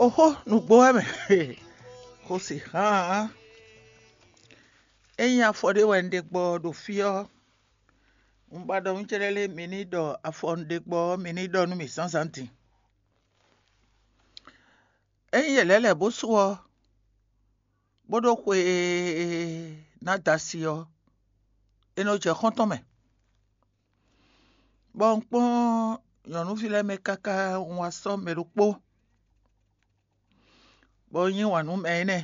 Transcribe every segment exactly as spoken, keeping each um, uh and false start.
Oxó nǔgbó wɛ mɛ. Xo si hán. Ényí afɔ ɖé wɛ un ɖe gbɔ ɖo fí ɔ́, un ba ɖɔ nú cɛ́ɖɛ́ lé mi ní ɖɔ afɔ un ɖe gbɔ ɔ́ mi ní ɖɔ nú mì zǎnzǎn din. Ényí yě lɛ́ lɛ̌ bó su ɔ́, bó ɖó xwe ná da asi ɔ́, é nɔ jɛ xɔ́ntɔn mɛ. Bɔ un kpɔ́n nyɔ̌nuví lɛ́ɛ mɛ káká un wá sɔ́ mɛ ɖokpó, bɔ un yí wǎn nú mɛ énɛ́.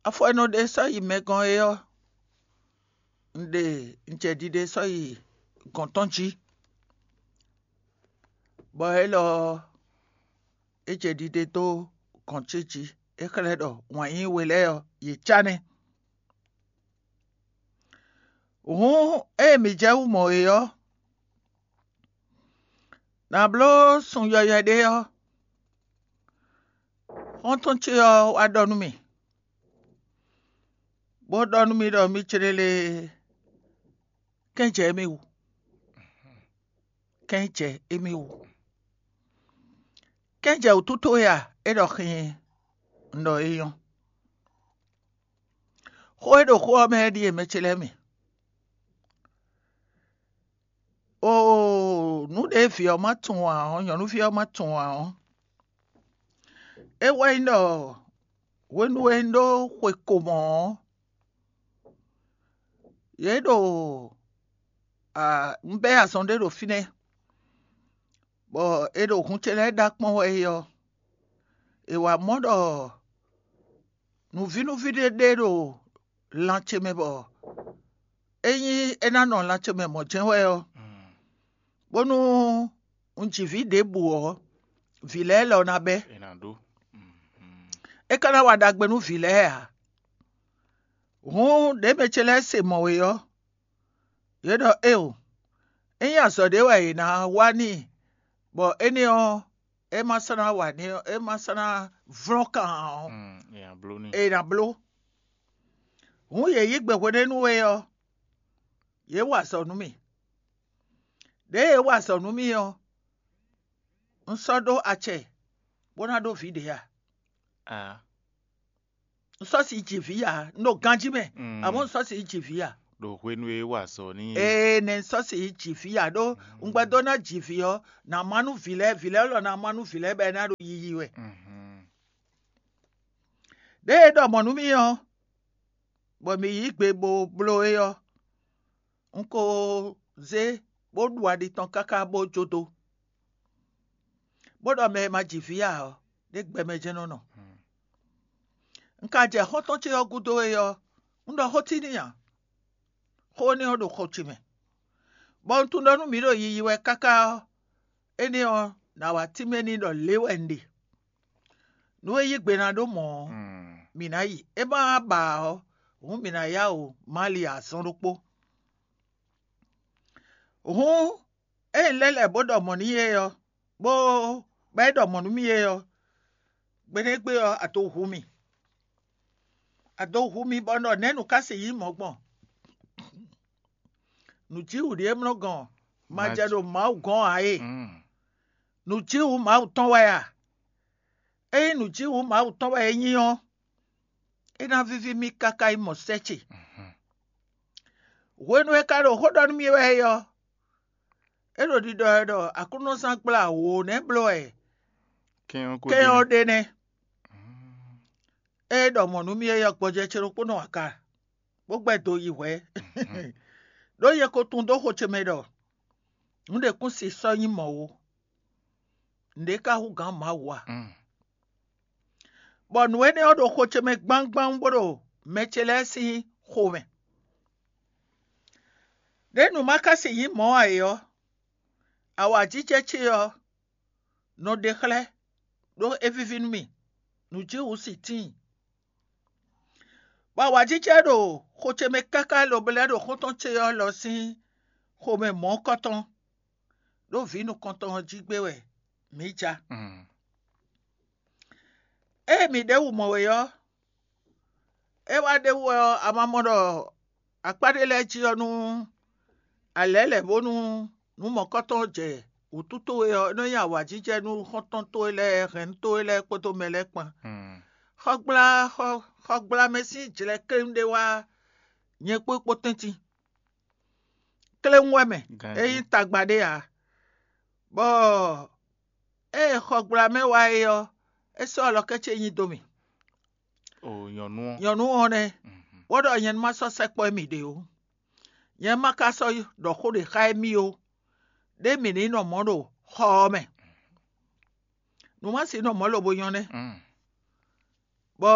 Afɔ e nɔ ɖe sɔ́ yi mɛ gɔ́n é ɔ́, un ɖe un jɛ ɖiɖe sɔ́ yi gɔ̌n tɔn jí, bɔ élɔ́ ɔ́, é jɛ ɖiɖe dó gɔ̌n ce jí. É xlɛ́ ɖɔ wǎn yíyí we lɛ́ɛ ɔ́, yě cá nɛ́. Hǔn ée mǐ jɛ wú mɔ é ɔ́, nǎ bló sun yɔywɛ ɖé ɔ́, xɔ́ntɔn ce ɔ́ wá ɖɔ nú mì, bó ɖɔ nú mì ɖɔ mì céɖélé kɛ́n jɛ émí wú. Kɛ́n jɛ émí wú. Kɛ́n jɛ wǔtú towe a? É ɖɔ xii, un ɖɔ é nyɔ́. Xó e ɖo xó ɔ́ mɛ é ɖíe mɛ ce lɛ́ɛ mi. Oo, nǔ ɖě vǐ ɔ́ ma tunwun ǎ ɔ́, nyɔ̌nuví ɔ́ ma tunwun ǎ ɔ́, é wɛ nyí ɖɔ hwenu e un ɖó xwe ko mɔ̌ ɔ́, yě ɖo un bɛ́ azɔn ɖé ɖo fínɛ́, bɔ è ɖo hun ce lɛ́ɛ ɖa kpɔ́n wɛ é ɔ́, è wǎ mɔ ɖɔ nǔvínúví ɖé ɖe ɖo lan ce mɛ bɔ ényí é ná nɔ lan ce mɛ mɔ̌ jɛ́n wɛ ɔ́, bónú un ji vǐ ɖěbǔ ɔ́, vǐ lɛ́ɛ lɔ ná bɛ́. È nǎ ɖó. É ka ná wa ɖagbe nú vǐ lɛ́ɛ ǎ. Hǔn ɖěe mɛ ce lɛ́ɛ se mɔ̌ é ɔ́, yě ɖɔ éeǒ, ényí azɔ̌ ɖé wɛ è nǎ wa n'i, bɔ énɛ́ ɔ́, é ma sɔ́ ná wa n'i ɔ́, é ma sɔ́ ná vlɔ́n kan ǎ ɔ́, Mm, è nǎ bló n'i. È nǎ bló. Hǔn yě yí gbe hwenɛ́nu é ɔ́, yě wa azɔ̌ nú mì. Ɖěe yě wa azɔ̌ nú mì ɔ́, un sɔ́ ɖó acɛ bó ná ɖó vǐ ɖě a? Ah. Un sɔ́ si ji vǐ ǎ, un ɖo ganjí mɛ, Mm. Amɔ̌ un sɔ́ si ji vǐ ǎ. Ɖo hwenu e é wa azɔ̌ n'i é. Ee, nɛ un sɔ́ si ji vǐ ǎ ɖó un gbɛdó ná ji vǐ ɔ́, nǎ má nú vǐ lɛ́ɛ, vǐ lɛ́ɛ lɔ ná má nú vǐ lɛ́ɛ bɔ é ná ɖo yiyi wɛ. Mhm. Ɖěe é ɖɔ mɔ̌ nú mì ɔ́, bɔ mǐ yí gbe bó bló é ɔ́, un ko zé bó ɖu aɖi tɔn káká bó jó dó, bó ɖɔ mɛ e ma ji vǐ ǎ ɔ́, ɖě gbɛ mɛ jɛ́n nɔ nɔ. Un ka jɛ xɔ́ntɔn ce ɔ́ gúdo é ɔ́, un ɖɔ xó tínmɛ ǎ. Xó énɛ́ ɔ́ ɖo xɔ ce mɛ, bɔ un tunwun ɖɔ nú mǐ ɖo yiyi wɛ káká ɔ́, énɛ́ ɔ́, nǎ wá tínmɛ n'i ɖɔ lě wɛ un ɖe. Nú é yí gbe ná ɖó mɔ̌ ɔ́, mǐ ná yi. É ma ba ǎ ɔ́, hǔn mǐ ná yá wǔ ma li azɔn ɖokpó. Hǔn ée un lɛ́ lɛ̌ bó ɖɔ mɔ̌ n'i é ɔ́, bó bɔ é ɖɔ mɔ̌ nú mì é ɔ́, gbeɖé gbe ɔ́, a dó hu mì. A dó hu mì bɔ un ɖɔ nɛ̌ nǔ ka sixú nyí mɔ̌ gbɔn? Nǔjíwǔ ɖíe mlɔ́ gɔn ma jɛ ɖo Mawu gɔ́n ǎ e. Nǔjíwǔ Mawu tɔn wɛ a? Ényí nǔjíwǔ Mawu tɔn wɛ é nyí ɔ́, é ná víví mì káká yi mɔ sɛ́ ce. Hwenu e ka ɖo xó ɖɔ nú mì wɛ é ɔ́, é ɖo ɖiɖɔ wɛ ɖɔ Aklúnɔzán gbla wǒ nɛ́ bló wɛ kɛ́n ɔ́ kɛ́n ɔ́ ɖe nɛ́. É ɖɔ mɔ̌ nú mì é ɔ́, gbɔjɛ́ ce ɖokpónɔ aka, bó gbɛ́ do yi hwɛ̌. Ɖó nyɛ ko tunwun dó xo ce mɛ ɖɔ nǔ ɖě kún si sɔ́ nyí mɔ̌ ó. Nǔɖé ka hú gǎn Mawu a? Bɔ nǔ énɛ́ ɔ́ ɖo xo ce mɛ gbangban bó ɖo mɛ ce lɛ́ɛ sín xomɛ. Ɖěe nǔ ma ka si nyí mɔ̌ ǎ é ɔ́, awǎjijɛ ce ɔ́ nɔ ɖe xlɛ́, ɖó é víví nú mì, nǔjíwǔ sin tíin. Bɔ awǎjijɛ ɖo xo ce mɛ káká lobo lɛ́ ɖo xɔ́ntɔn ce ɔ́ lɔ sín xomɛ mɔ̌kɔtɔn, ɖó vǐ nukɔntɔn ɔ́ jí gbé wɛ mǐ ja. Ée mǐ ɖěbǔ mɔ we ɔ́, é wá ɖ'é wú wɛ ɔ́, a ma mɔ ɖɔ akpá ɖé lɛ́ɛ jí ɔ́ nú a lɛ̌ lɛ̌ bónú nǔ mɔ̌kɔtɔn jɛ wǔtu towe ɔ́, é nɔ nyí awǎjijɛ nú xɔ́ntɔn towe lɛ́ɛ, hɛ̌nnu towe lɛ́ɛ kpódó mɛ lɛ́ɛ kpán. Xɔgbla xɔ xɔgblamɛ sín jlɛ̌ kléwún ɖé wá nyɛ kpó kpó tɛ́ntin. Kléwún wɛ mɛ, é nyí tagba ɖé ǎ. Bɔ ée xɔgblamɛ wá é ɔ́, é sɔ́ alɔkɛ́ ce nyi dó mì. O nyɔ̌nu ɔ́. Nyɔ̌nu ɔ́ nɛ́, bó ɖɔ nyɛ ní ma sɔ́ sɛkpɔ́ émí ɖě ó. Nyɛ ma ka sɔ́ ɖɔ xó ɖě xá émí ó. Ɖé mǐ ní nɔ mɔ̌ ɖo xɔ ɔ́ mɛ. Nǔmasin nɔ mɔ̌ lobo nyɔ́ nɛ́. Bɔ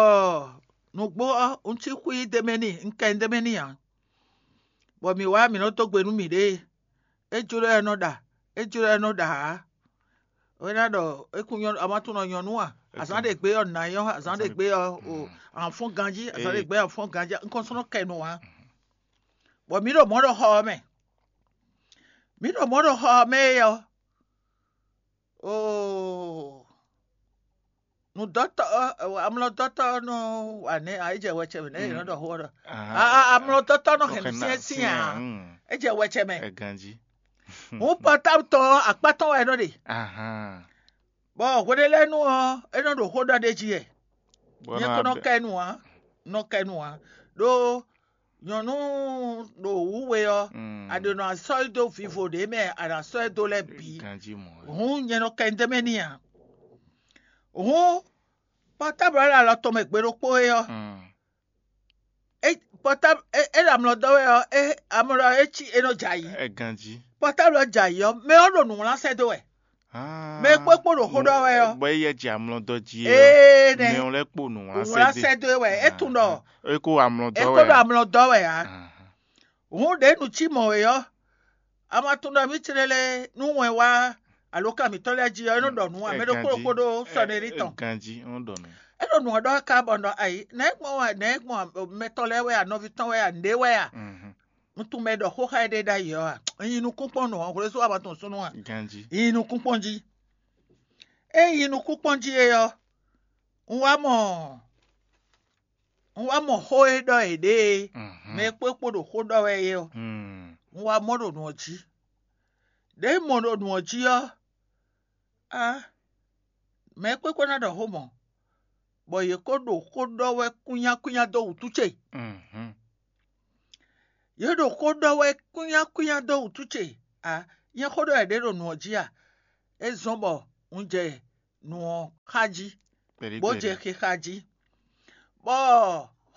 nǔgbó ɔ́, un cí xwí d'é mɛ n'i, un kɛ d'é mɛ n'i ǎ. Bɔ mǐ wá mǐ nɔ dó gbe nú mǐɖée. É jló ɛ nɔ ɖa, é jló ɛ nɔ ɖa ǎ. É ná ɖɔ é kún nyɔ́ a ma tunɔ nyɔ̌nu a? Azǎn ɖě gbé ɔ́ nǎ nyɔ́, azǎn ɖě gbé ɔ́ o, an fɔ́n ganjí, azǎn ɖě gbé an fɔ́n ganjí, un kɔn sɔ́ nɔ kɛ nǔ ǎ. Bɔ mǐ ɖo mɔ̌ ɖo xɔ ɔ́ mɛ. Mǐ ɖo mɔ̌ ɖo xɔ ɔ́ mɛ é ɔ́, oo, nǔdɔ́tɔ́ amlɔdɔ́tɔ́ nɔ wa nɛ̌ ǎ? É jɛ wɛcɛ mɛ nɛ̌ è nɔ ɖɔ xó ɔ́ ɖɔ amlɔdɔ́tɔ́ nɔ hɛn nǔ syɛ́nsyɛ́n ǎ. É jɛ wɛcɛ mɛ. Hǔn pɔtábu tɔn ɔ́, akpá tɔn wɛ é nɔ ɖe. Bɔ hweɖélɛ́nu ɔ́, é nɔ ɖo xó ɖɔ ɖ'é jí wɛ. Nyɛ ko nɔ kɛ nu ǎ, nɔ kɛ nu ǎ. Ɖó nyɔ̌nu ɖo wǔ we ɔ́, a ɖo nɔ sɔ́ yi dó vivo ɖě mɛ a nǎ sɔ́ ɛ dó lɛ́ɛ bǐ. Hǔn nyɛ nɔ kɛ nu d'é mɛ n'i ǎ. Hǔn pɔtáblu ɔ́ ɖo alɔ tɔn mɛ gbe ɖokpó é ɔ́, pɔtáblu é ɖo amlɔ dɔ́ wɛ ɔ́, amlɔ é cí é nɔ jɛ ayǐ. Pɔtáblu ɔ́ jɛ ayǐ ɔ́, mɛ ɔ́ ɖo nǔ wlán sɛ́ dó wɛ. Mɛ e kpó kpó ɖo xó ɖɔ wɛ ɔ́. Bɔ é yɛ jɛ amlɔ dɔ́ jí é. Ee nɛ. Mɛ ɔ́ lɛ́ kpo nǔ wlán Wlán sɛ́ dó. Sɛ́ dó wɛ, é tunwun ɖɔ Eko amlɔ é dɔ́ kpó wɛ. Ɖo amlɔ dɔ́ wɛ ǎ. Hǔn ɖě nu cí mɔ̌ é ɔ́, a ma tunwun ɖɔ mì tlélé nú wɛn wá alǒkan mǐtɔn lɛ́ɛ jí ɔ́, é nɔ ɖɔ nǔ ǎ, mɛ ɖokpó ɖokpó ɖó sɔnɛ́rí tɔn. Ganjí, é nɔ ɖɔ nǔ. É ɖo nǔ ɔ́ ɖɔ ká bɔ nɔ ayi, nɛ̌ gbɔn wɛ, nɛ̌ gbɔn mɛtɔn lɛ́ɛ wɛ a, nɔví tɔn wɛ a, nǔɖé wɛ a? Mhm. Un tunwun mɛ e ɖɔ xó xá éɖée ɖ'ayǐ ɔ́ a? Un nyi nukún kpɔ́n nǔ ɔ́, hwlɛ́sú a ma tunwun súnnu a? Ganjí. Un nyi nukún kpɔ́n jí. Ée un nyi nukún kpɔ́n jí é ɔ́, un wá mɔ un wá mɔ xó e ɖɔ yě ɖe é, Mhm. mɛ e kpó kpo ɖo xó ɖɔ wɛ é ɔ́, Hmm. un wá mɔ ɖo nǔ ɔ́ jí. Ɖěe un mɔ ɖo nǔ ɔ́ jí ɔ́, á, mɛ e kpó kpo ná ɖɔ xó mɔ̌, bɔ yě ko ɖo xó ɖɔ wɛ kúnyákúnyá dó wǔtu ce. Mhm. Yě ɖo xó ɖɔ wɛ kúnyákúnyá dó wǔtu ce. Á, nyɛ xó ɖɔ yě ɖe ɖo nǔ ɔ́ jí a? É zɔ́n bɔ un jɛ nǔ ɔ́ xá jí, Kpɛɖí bó kpɛɖí. jɛ xixa jí. Bɔ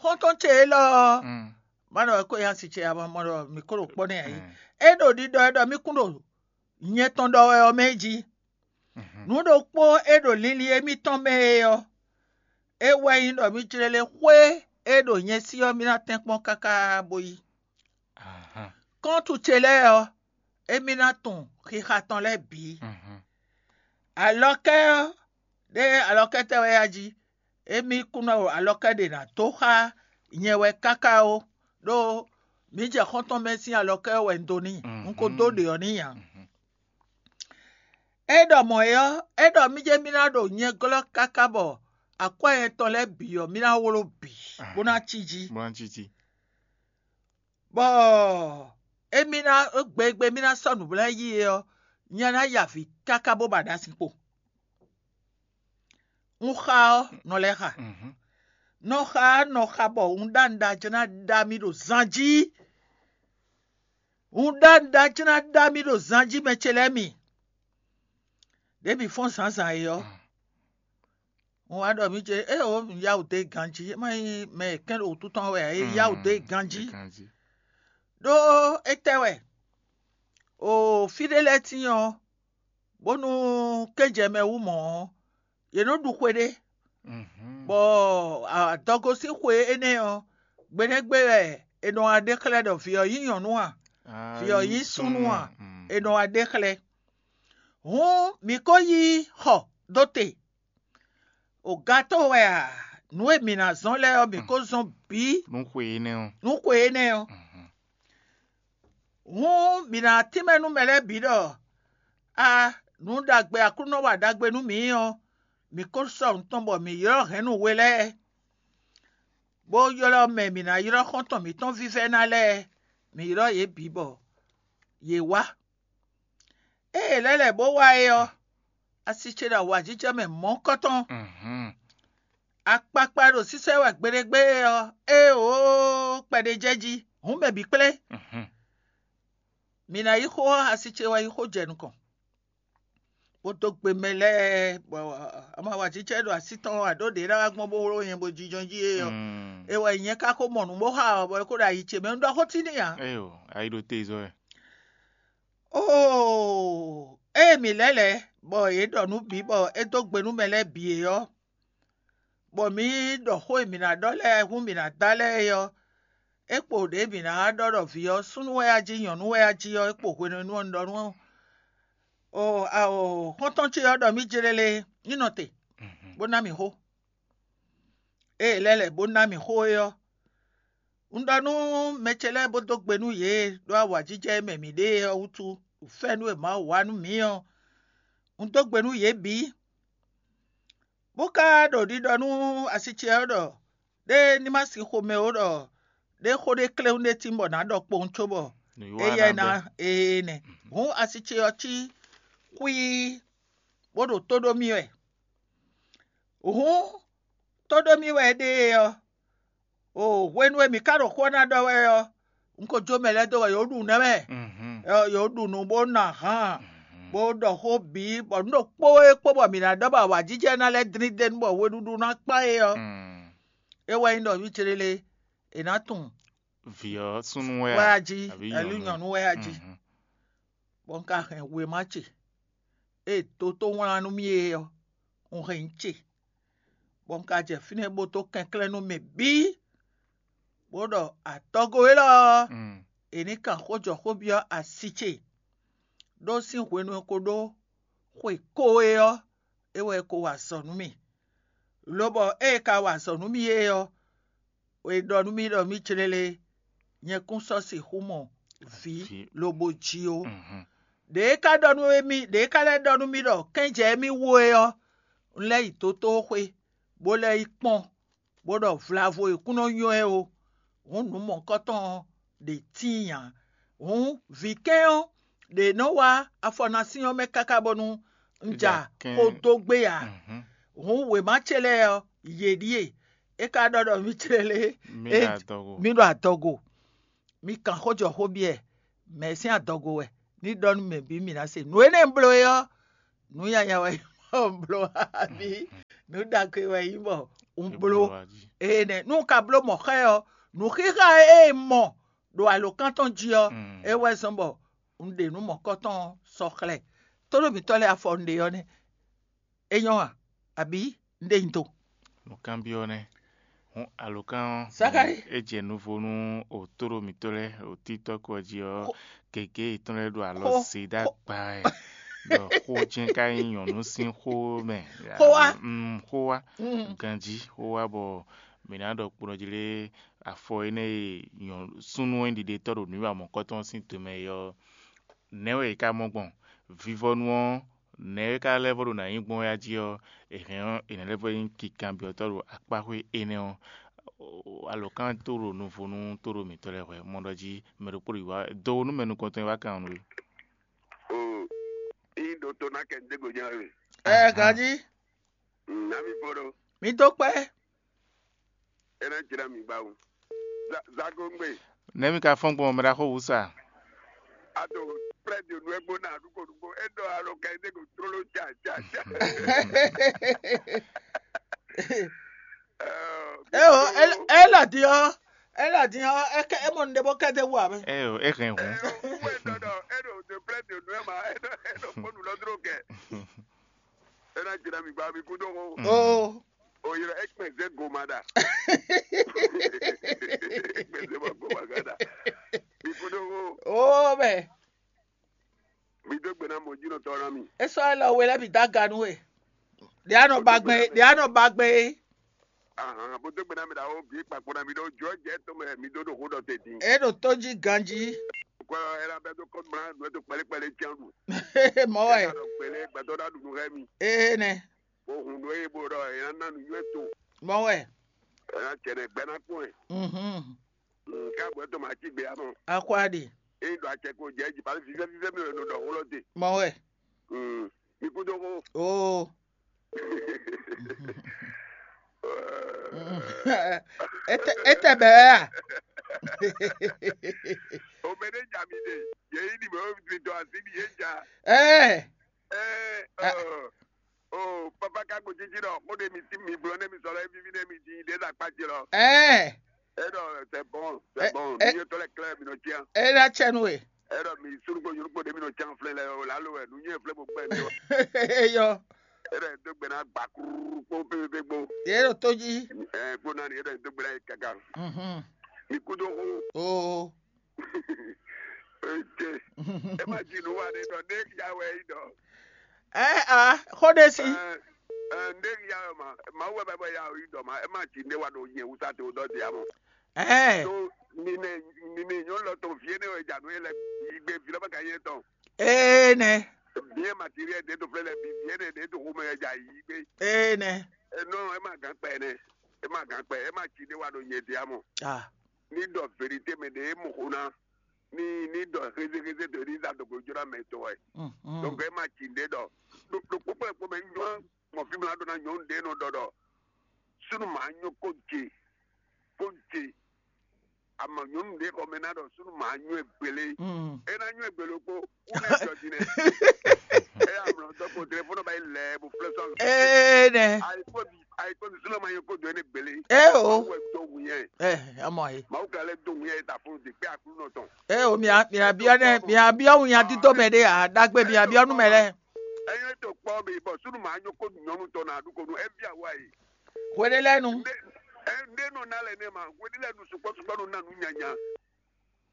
xɔ́ntɔn ce élɔ́ ɔ́, Mm. má ɖɔ é ko nyí asi ce ǎ, má ɖɔ mǐ ko ɖo kpɔ́ n'i ǎ é. Mm. É ɖo ɖiɖɔ e ɖɔ mì kún ɖo nyɛ tɔn ɖɔ wɛ ɔ́ mɛ jí. Mhm. Nǔ ɖokpó e ɖo linlin émítɔn mɛ é ɔ́, é wɛ nyí ɖɔ mì jlé lé xwé e ɖo nyɛ sí ɔ́, mì ná tɛ́nkpɔ́n káká bó yí. Ahan. Kɔ́ntu ce lɛ́ɛ ɔ́, émí ná tunwun xixa tɔn lɛ́ɛ bǐ. Mhm. Alɔkɛ́ ɔ́, ɖé alɔkɛ́ tɛ́ wɛ yá jí? Émí kún ná ɖo alɔkɛ́ ɖě ná dó xá nyɛ wɛ káká ó, ɖó mǐ jɛ xɔ́ntɔn mɛ sín alɔkɛ́ ɔ́ wɛ un dó n'i, Mm, un ko dó mm. ɖě ɔ́ n'i ǎ. Mhm. É ɖɔ mɔ̌ é ɔ́, é ɖɔ mì jɛ mì ná ɖo nyɛ glɔ́ káká bɔ akwɛ́ nyɛ tɔn lɛ́ɛ bǐ ɔ́, mì ná wló bǐ, bó ná cí jí. Bó ná cí jí. Bɔ émí ná gbe e gbe mì ná sɔ́ nǔ lɛ́ɛ yí é ɔ́, nyɛ ná ya avǐ káká bó ba ɖa sin kpo. Un xa ɔ́, nɔ lɛ́ xa. Mhm. Nɔ xa ɔ́, nɔ xa bɔ un ɖó aɖaŋ jlá ná ɖa mì ɖo zan jí. Un ɖó aɖaŋ jlá ná ɖa mì ɖo zan jí, mɛ ce lɛ́ɛ mi. Ɖěbǔ fɔ́n zǎnzǎn é ɔ́, Mm. un wá ɖɔ mì ce, é o, un yá wǔ dó ganjí, é má nyí mɛ e kɛ́n ɖo wǔtu tɔn wɛ ǎ, é yá wǔ dó ganjí. Ganjí. Ɖó étɛ́ wɛ? O fí ɖé lɛ́ɛ tíin ɔ́, bónú kéjɛ mɛ wú mɔ̌ ɔ́, yě nɔ ɖu xwe ɖé, Mhm. bɔ adɔgo sín xwe énɛ́ ɔ́, gbe nɛ́ gbe wɛ è nɔ wá ɖe xlɛ́ ɖɔ vǐ ɔ́ nyí nyɔ̌nu a, vǐ ɔ́ nyí súnnu a, Mm. è nɔ wá ɖe xlɛ́. Hǔn mǐ ko yí xɔ dó te. O gato wɛ a, nǔ e mǐ ná zɔ́n lɛ́ɛ ɔ́, mǐ ko zɔ́n bǐ Nú xwe énɛ́ ɔ́. nú xwe énɛ́ ɔ́. Mhm. Hǔn mǐ ná tínmɛ nú mɛ lɛ́ɛ bǐ ɖɔ a, nǔ ɖagbe Aklúnɔ wa ɖagbe nú mǐ ɔ́, mǐ ko sɔ́ nǔ tɔn bɔ mǐ ylɔ́ hɛ̌nnu we lɛ́ɛ, bó ylɔ́ mɛ mǐ ná ylɔ́ xɔ́ntɔn mǐtɔn vívɛ́ná lɛ́ɛ, mǐ ylɔ́ yě bǐ bɔ yě wá. Ée è lɛ́ lɛ̌ bó wá é ɔ́, asi ce ɖo awǎjijɛ mɛ mɔ̌kɔ́tɔn. Akpakpa ɖo sísɛ́ wɛ gbeɖégbé ɔ́, éeǒ, kpɛɖé jɛ jí, hǔn mɛ bǐ kplé. Mǐ ná yí xó ɔ́, asi ce wɛ yí xó jɛ nukɔn, bó dó gbe mɛ lɛ́ɛ, bɔ ama wǎjijɛ ɖo así tɔn ɔ́, aɖó ɖě ná wá gbɔn bó wló nyɛ bó jínjɔ́n jí é ɔ́, é wɛ nyɛ ka ko mɔ nǔ bó xa ɔ́, bɔ é ko ɖo ayi ce mɛ. Un ɖɔ xó tín n'i ǎ. Eyo, ayi ɖo te zɔ wɛ. Óo, ée mǐ lɛ́ lɛ̌, bɔ yě ɖɔ nǔ bǐ, bɔ é dó gbe nú mɛ lɛ́ɛ bǐ é ɔ́, bɔ mǐ ɖɔ xó e mǐ ná ɖɔ lɛ́ɛ hú mǐ ná da lɛ́ɛ é ɔ́, é kpo ɖě mǐ ná wá ɖɔ ɖɔ vǐ ɔ́ súnnu wɛ a jí, nyɔ̌nu wɛ a jí ɔ́, é kpo hwenu e nú ɔ́ un ɖɔ nú ɔ, ao, xɔ́ntɔn ce ɔ́ ɖɔ mì jlélé, ní nɔ te, bó ná mì xó. Ée è lɛ́ lɛ̌ bó ná mì xó é ɔ́, un ɖɔ nú mɛ ce lɛ́ɛ bó dó gbe nú yě ɖó awǎjijɛ e mɛ mǐ ɖe é ɔ́ wútu, fɛ́nú e Mawu wa nú mǐ ɔ́, un dó gbe nú yě bǐ. Bó ka ɖo ɖiɖɔ nú asi ce ɔ́ ɖɔ ɖé ní ma sin xomɛ ó, ɖɔ ɖé xó ɖé kléwún ɖé tín bɔ nǎ ɖɔ kpowun cóbɔ éyɛ́ ná ee nɛ́. Hǔn asi ce ɔ́ cí xwíí, bó ɖo tó ɖó mì wɛ. Hǔn tó ɖó mì wɛ é ɖe é ɔ́, o hwenu e mǐ ka ɖo xó ɔ́ ná ɖɔ wɛ ɔ́, un ko jó mɛ lɛ́ɛ dó wɛ yǒ ɖu nɛ́ mɛ, yǒ ɖu nǔ bó ná hǎn, bó ɖɔ xó bǐ, bɔ nǔ ɖokpó e kpó bɔ mǐ ná ɖɔ bɔ awǎjijɛ ná lɛ́ dlín d'é nu bɔ weɖúɖú ná kpán é ɔ́, é wɛ nyí ɖɔ vǐ céɖélé è nǎ tunwun vǐ ɔ́ súnnu wɛ wɛ a a jí, abǐ ɛlú nyɔ̌nu? Nyɔ̌nu wɛ a jí. Bɔ un ka hɛn wěma ce e doto wlán nú mì é ɔ́, un hɛn nyi ce, bɔ un ka jɛ fínɛ́ bó dó kɛnklɛ́n nú mɛ bǐ, bó ɖɔ adɔgo élɔ́ ɔ́, è ní kan xójɔxóbyɔ́ asi ce, ɖó sín hwenu e ko ɖó xwe ko é ɔ́, é wɛ ko wa azɔ̌ nú mì. Lobɔ ée è ka wa azɔ̌ nú mì é ɔ́, è ɖɔ nú mì ɖɔ mì jlélé, nyɛ kún sɔ́ sixú mɔ vǐ lobo jí ó. Ɖě é ka ɖɔ nú émí, ɖě é ka lɛ́ ɖɔ nú mì ɖɔ kɛ́n jɛ émí wú é ɔ́, un lɛ́ yi dotóxwé, bó lɛ́ yi kpɔ́n, bó ɖɔ vlavo e kún nɔ nywɛ́ ó, hǔn nǔ mɔ̌kɔtɔn ɔ́ ɖě tíin ǎ. Hǔn vǐ kɛ́n ɔ́ ɖě nɔ wá afɔ ná sín ɔ́ mɛ káká bónú un ja xó dó gbé ǎ. Hǔn wěma ce lɛ́ɛ ɔ́, yě ɖíe. É ka ɖɔ ɖɔ mì clélé, mì ɖo adɔgo. Mi kan xó jɔ xó byɔ́ ɛ, mɛ̌ sín adɔgo wɛ, ní ɖɔ nú mɛ bǐ mǐ ná se. Nǔ énɛ́ un bló é ɔ́, nǔ nyanya wɛ un bló, abǐ nǔ ɖagbe wɛ nyí bɔ un bló. Énɛ́ nú un ka bló mɔ̌ xá ɛ ɔ́, nǔxíxá e un mɔ ɖo alǒkan tɔn jí ɔ́, é wɛ zɔ́n bɔ un ɖe nǔ mɔ̌kɔtɔn ɔ́ sɔ́ xlɛ́. Tónú mǐtɔn lɛ́ɛ afɔ un ɖe ɔ́ nɛ́. É nyɔ́ a, abǐ un ɖe nyi do? Nǔkanbyɔ́ nɛ́. Hǔn alǒkan ɔ́, Zakai. É jɛ nuvo nú òtóɖo mǐtɔn lɛ́ɛ ɖo títɔ́ ko ɔ́ jí ɔ́, gěgé yětɔn lɛ́ɛ ɖo alɔ zě ɖó agba wɛ, ɖɔ xó jɛ́n ka nyí nyɔ̌nu sín xó mɛ. Xó wá. Mm, xó wá. Ganjí xó wá bɔ mǐ ná ɖɔ kponɔ jí lé afɔ énɛ́ e súnnu e ɖiɖetɔ́ ɖo nǔ wa mɔ̌kɔtɔn sín tomɛ é ɔ́, nɛ̌ wɛ è ka mɔ gbɔn? Vivɔnu ɔ́, nɛ̌ é ka lɛ́ vɔ ɖo nǎ nyí gbɔn wɛ a jí ɔ́, è hɛn ɔ́, è nǎ lɛ́ vɔ nyí kikanbyɔ́tɔ́ ɖo akpáxwé énɛ́ ɔ́. Alǒkan tó ɖo nuvo nú tóɖo mǐtɔn lɛ́ɛ hwɛ̌ mɔ ɖɔ jí mɛ ɖokpó ɖo yi wá do nú mɛ nukɔntɔn e wá kan nǔ é. O, yin ɖo to ná kɛ ndégo nya we. Ɛ ganjí. Nami foro. Mi dó kpɛ́. Ena jira mi gbawo. Za- Zagongbe. Nɛmi ka fɔn gbɔn mɛ ɖaxó wusa. Ato prɛdi onu egbo na nuko nuko. Edo alo ka ede ko trolo tsa tsa tsa. Eo, ela din ɔ, ela din ɔ, eke emɔ nde bɔ kɛde wu abe. Eyo, e hɛn hu. Wu edo dɔ edo de prɛdi onu ema edo edo kpɔnu lɔ dro kɛ. Ena jira mi gba mi kudo ho. Oo. Oyira ekpɛnzɛ gomada. Ekpɛnzɛ ma gomagada. Mi kudo ho. Oo bɛ. Mi dó gbe ná mɔ jínɔ tɔ ná mi. Esɔ elɔ we lɛ bi da ganu e. Ɖe anɔ ba gbɛ, ɖe anɔ ba gbɛ e. Ahan, bó dó gbe ná mi ɖa wo bí kpakpo ná mi ɖo jɔ jɛ to mɛ mi dó ɖo xó ɖɔ te din. E ɖo tó jí ganjí. Kɔ ela bɛ dó kɔ mla nɔ to kpɛlɛ kpɛlɛ tian ɖu. Mɔ wɛ. Ela dɔ kpɛlɛ gbɛtɔ ɖa ɖu nù hɛ mi. Ee nɛ. Bó hun ɖó eye bó ɖɔ ela ná nu yɔ to. Mɔ wɛ. Ela cɛ ɖe gbɛ ná kpɔn ɛ. Mhm. Nka bɔ to ma ci gbe amɔ. Akwa ɖe. é ɖo acɛ ko jɛ jí, pali fífɛ́ fífɛ́ mi wɛ nɔ ɖɔ xó lɔ te. Mɔ wɛ. Mm. Mi kú dó xó. Oo. Ete ete bɛ a. O mɛ ne ja mi de. Ye yi ni mɛ o mi dɔ asi mi ye ja. Ɛɛ. Ɛɛ. Ah. Ɔ, o papa ka gbo títí lɔ, kó de mi ti mi blɔ ne mi sɔlɔ evivi ne mi ti de la kpa ti lɔ. Ɛɛ. E dɔ c'est bon, Eh, c'est bon. eh. Mi yɛ tɔ lɛ klɛ mi nɔ tiɲɛ. E ɖo atsɛ nu e. E dɔ mi surugbo yurugbo de mi nɔ tiɲɛ flɛ lɛ o la lo wɛ nu nyɛ flɛ bo gbɛ mi o. Eyɔ. E dɔ do gbɛ na gba kuru kpo pépépé kpo. Ye ɖo tó jí. Ɛ kpo na ni e dɔ do gbɛ na yi kaka. Mhm. Mi kudo ko. Oo. Ete. E ma ji nu wa de dɔ ne ya wɛ yi dɔ. Ɛɛ a xó ɖe si. Ɛ ɛ ne ya ma ma wɛ bɛ bɛ ya yi dɔ ma e ma ji ne wa do yɛ wusa to dɔ di amɔ. Ɛɛ. To nine nine nyɔnu lɔ tɔn fie ne wɛ ja nu ye lɛ yi gbe vi lɔ bɛ ka ye tɔn. Ee nɛ. Bien matériel de to flɛ lɛ bi vie ne de to xomɛ wɛ ja yi gbe. Ee nɛ. E non, e ma gan kpɛ ne. E ma gan kpɛ, e ma ci de wa do nye de amɔ. Ah. Ni dɔ vérité mɛ de e mo xo na. Ni ni dɔ xézéxézé to ni za do ko jona mɛ to wɛ. Mhm. Donc e ma ci de dɔ. Do do kpokpo kpo mɛ nyɔ mɔ fi mla do na nyɔnu de nɔ dɔ dɔ. Sunu ma nyɔ ko je. Ko je. Ama nyɔnu de xɔ mɛ na dɔ sunu ma nyɔ egbele. Mm. E na nyɔ egbele kpo. Ku ne jɔ di ne. E ya mlɔ dɔ ko téléphone ba yi lɛ bo flɛ sɔn. Ee nɛ. Ayi ko di ayi ko di sunu ma nyɔ ko do ne gbele. Ee o. Wɛ do wu yɛ. Ɛ amɔ ye. Mawu ka lɛ do wu yɛ ta fún de pé akulu nɔ tɔn. Ee o mia mia biɔ nɛ mia biɔ wu nya dito mɛ ɖe a dagbe mia biɔ nu mɛ lɛ. Ɛyɛ to kpɔ bi bɔ sunu ma nyɔ ko nyɔnu tɔ na du ko nu e bia wa yi. Hwe ɖe lɛ nu. Nde ɛ nde nɔ na lɛ ne ma wele lɛ nu sukpɔ sukpɔ nu na nu nyanya.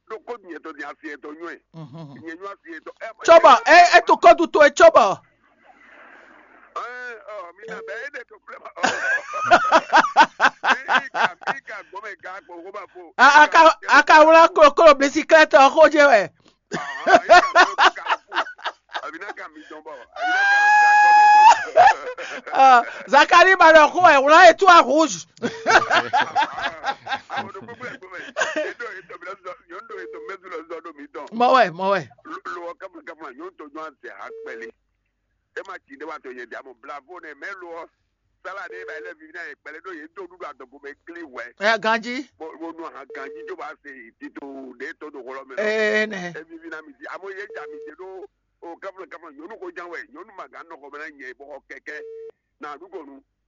Ɖo ko nyɛ tɔ di asi etɔ nyɔɛ. Mhm. Nyɛ nyɔ asi etɔ. Tsobɔ e etu kodu to e tsobɔ. Ɛɛ ɔ mi na bɛ e de to filɛ ma. Ika ika gbɔmɛ ga gbɔ ko ba fo. A- aka aka wla kolokolo bisikilɛti ɔ xo je wɛ. Ahan ika gbɔ ka fo. Abi na ka mi dɔn bɔ. Abi na ka ja kɔ mɛ. Ah, Zakari ba ɖɔ xo ɛ wla etu a rouge. Àwọn tó gbogbo ẹ̀gbọ́n mẹ́. Ètò ètò mi lọ sọ, yóò ń do ètò mẹ́tò lọ sọ ọdún mi tán. Mɔ wɛ mɔ wɛ. Lo ọkàn fún kẹfún yóò tó yóò ṣe àpẹẹlẹ. Ẹ máa tì í déwà tó yẹ di àmọ́ bravo ne mẹ́ lo ọ. Sálà ní ibà ilé fífi náà ìpẹ̀lẹ́ tó yẹ tó dúdú àtọ̀kù mẹ́ kílí wẹ̀. Ɛ ganji. Mo nu àhàn kan jíjó bá ṣe ìtìtò dé tó dòkó lọ mẹ́. Ee nɛ. Ẹ fífi náà mi ti àmọ́ yẹ jà mi jẹ ló. O kẹfún kẹfún yóò kó jan wẹ̀ yóò má gán nọkọ mẹ́ náà yẹ bọ́ kẹ̀kẹ́. Nà àdúgbò nu.